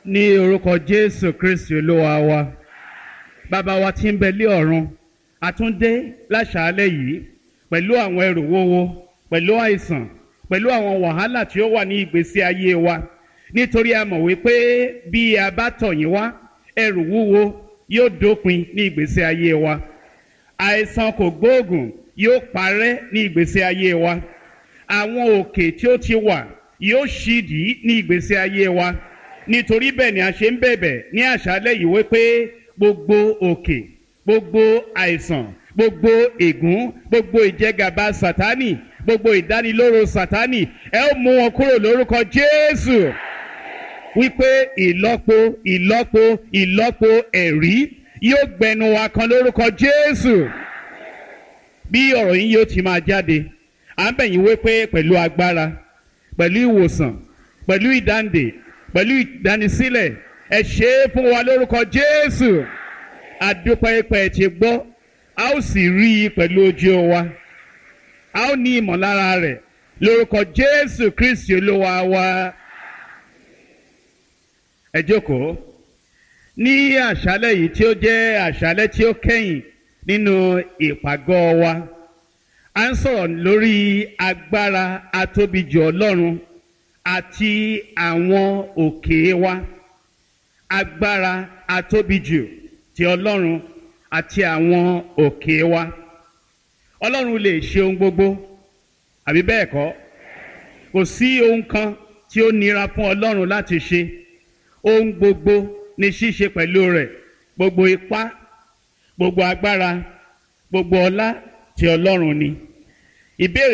Ní orúkọ Jésù Kristi Olúwa wa, bàbá wa tí ń bẹ lé ọ̀run, àtúndé láṣàálẹ̀ yìí pẹ̀lú àwọn ẹrù wúwo, pẹ̀lú àìsàn, pẹ̀lú àwọn wàhálà tí ó wà ní ìgbésí ayé wa, nítorí a mọ̀ wípé bí a bá tọ̀ yín wá, ẹrù wúwo yóò dópin ní ìgbésí ayé wa, àìsàn kò gbóògùn yóò parẹ́ ní ìgbésí ayé wa, àwọn òkè tí ó ti wà yóò ṣídìí ní ìgbésí ayé wa. Nítorí bẹ́ẹ̀ ni a ṣe ń bẹ̀bẹ̀ ní àṣálẹ́ yìí wípé gbogbo òkè, gbogbo àìsàn, gbogbo ègún, gbogbo ìjẹgàba Sátánì, gbogbo ìdánilóró Sátánì, ẹ ó mú wọn kúrò lórúkọ Jésù, wípé ìlọ́po ìlọ́po ìlọ́po ẹ̀rí yóò gbẹnu wa kan lórúkọ Jésù. Bí ọ̀rọ̀ yín yóò ti máa jáde, à ń bẹ̀ yín wípé pẹ̀lú agbára, pẹ̀lú ìwòsàn, pẹ̀lú ìdáǹdè, pẹ̀lú ìdánisílẹ̀, ẹ ṣe é fún wa lórúkọ Jésù. Àdúpẹ́ pẹ́ ti gbọ́, a ó sì rí i pẹ̀lú ojú wa, a ó ní ìmọ̀lára rẹ̀ lórúkọ Jésù Kristi Olúwa wa. Ẹ jókòó. Ní àṣálẹ́ yìí tí ó jẹ́ àṣálẹ́ tí ó kẹ́yìn nínú ìpàgọ́ wa, a ń sọ̀rọ̀ lórí agbára atóbijù Ọlọ́run àti àwọn òkè wa. Agbára atóbijù ti Ọlọ́run àti àwọn òkè wa. Ọlọ́run lè ṣe ohun gbogbo, àbí bẹ́ẹ̀ kọ́? Kò sí ohun kan tí ó nira fún Ọlọ́run láti ṣe. Ohun gbogbo ni ṣíṣe pẹ̀lú rẹ̀, gbogbo ipá, gbogbo agbára, gbogbo ọlá ti Ọlọ́run ni. Ìbéèrè